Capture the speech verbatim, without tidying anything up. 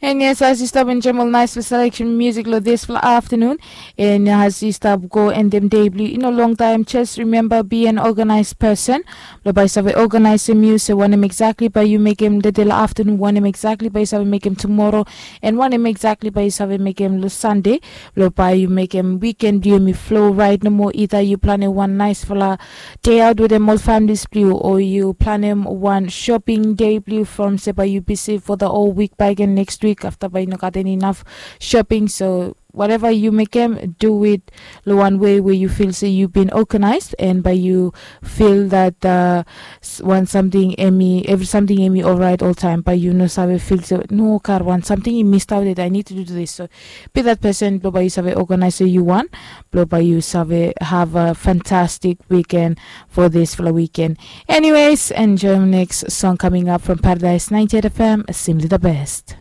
And yes, as yu stap enjoim ol nais long selection music long dispela afternoon, and as yu stap go endem day blong yu long taim, just remember, be an organized person. Lo bai yu save organizem yu se wanem exactly bai yu mekem dede long afternoon, wanem exactly bai yu save mekem tomorrow, and wanem exactly bai yu save mekem long Sunday. Lo bai yu mekem weekend blong yu flow right nomo. Either yu planem wan nais fala day out wetem ol families blong yu, o yu planem wan shopping day blong yu from se bai yu busy for the whole week, bai gen next week after bai yu no gat any enough shopping. So whatever you mekem, do it lo one way where you feel say you've been organized, and by you feel that uh, s- one something emi every something emi all right all time, by you no save feel say no, kar one something you missed out that I need to do this. So be that person, blo by you save organize so you want, blo by you save have a fantastic weekend for this for the weekend. Anyways, enjoy the next song coming up from Paradise ninety-eight F M, simply the best.